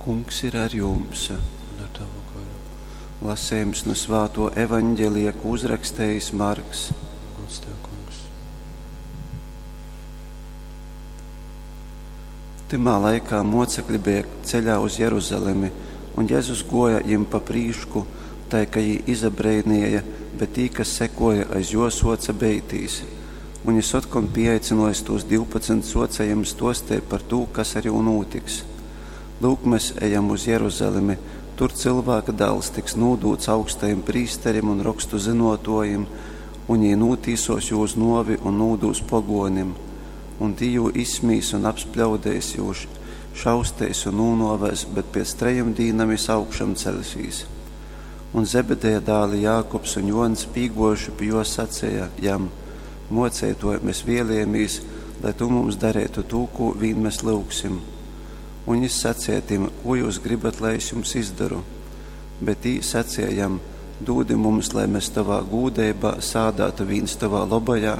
Kungs ir ar jums. Un ar tavu garu. Lasījums no Svāto evaņģelija, ko uzrakstījis Marks. Gods tev, Kungs. Tymā laikā mocekļi bija ceļā uz Jeruzalemi, un Jēzus goja jim pa prīšku, tai, ka jī izabreinīja, bet tī, kas sekoja aiz jo, soca beitīs. Un jis otkon pieaicinojis tūs 12 soca jim stostē par tū, kas ar jū nūtiks. Lūk, mēs ejam uz Jeruzalemi, tur cilvēka dēls tiks nūdūts augstajim prīsterim un rokstu zinotojim, un jī nūtīsos jū uz novi un nūdūs pogonim, un tī jū izsmīs un apspļaudēs jū, šaustēs un nūnovēs, bet pēc trejim dīnam jis augšam celsīs. Un Zebedeja dāli Jākubs un Jons pīgojuši pie jo sacēja jam: Mocētoj, mēs vēlējamīs, lai tu mums darētu tū, ko vīn mēs lūgsim. Un jis sacīja tim: Ko jūs gribat, lai es jums izdaru? Bet tī sacīja jam: Dūdi mums, lai mēs tavā gūdeibā sādātu vīns tavā labajā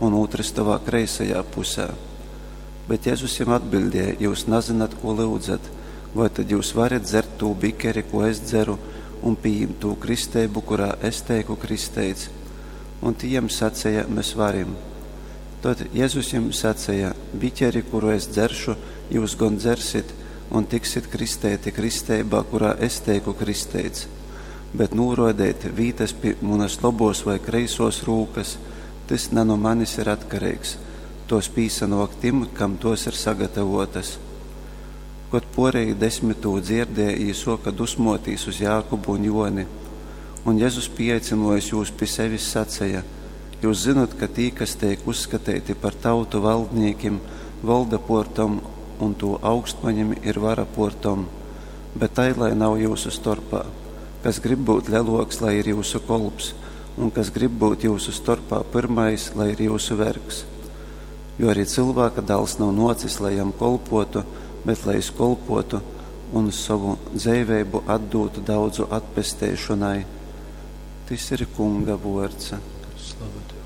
un otrs tavā kreisajā pusē. Bet Jēzus jiem atbildēja: Jūs nezināt, ko lūdzat, vai tad jūs varat dzert tū bikeri, ko es dzeru, un pieņemt tū kristeibu, kurā es teiku kristeits? Un tī jiem sacīja: Mēs varim. Tad Jēzus jiem sacīja: Biķeri, kuru es dzeršu, jūs gan dzersit, un tiksit kristēti kristeibā, kurā es teiku kristeits. Bet nūrodēt vītas pie manas lobos vai kreisos rūkas, tas ne no manis ir atkarīgs. Tos pīsanok tim, kam tos ir sagatavotas. Kad porēji desmitū dzirdēja, jī soka dusmotīs uz Jākubu un Joni. Un Jēzus pieaicinojis jūs pie sevis sacīja: Jūs zinat, ka tī, kas tiek uzskatīti par tautu valdniekiem, valda portom, un to augstmaņim ir vara portom, bet tai, lai nav jūsu starpā. Kas grib būt leloks, lai ir jūsu kolps, un kas grib būt jūsu starpā pirmais, lai ir jūsu vergs. Jo arī cilvēka dēls nav nocis, lai jam kolpotu, bet lai es kolpotu un savu dzīvību atdotu daudzu atpestēšanai. Tis ir Kunga vords. Slava tev,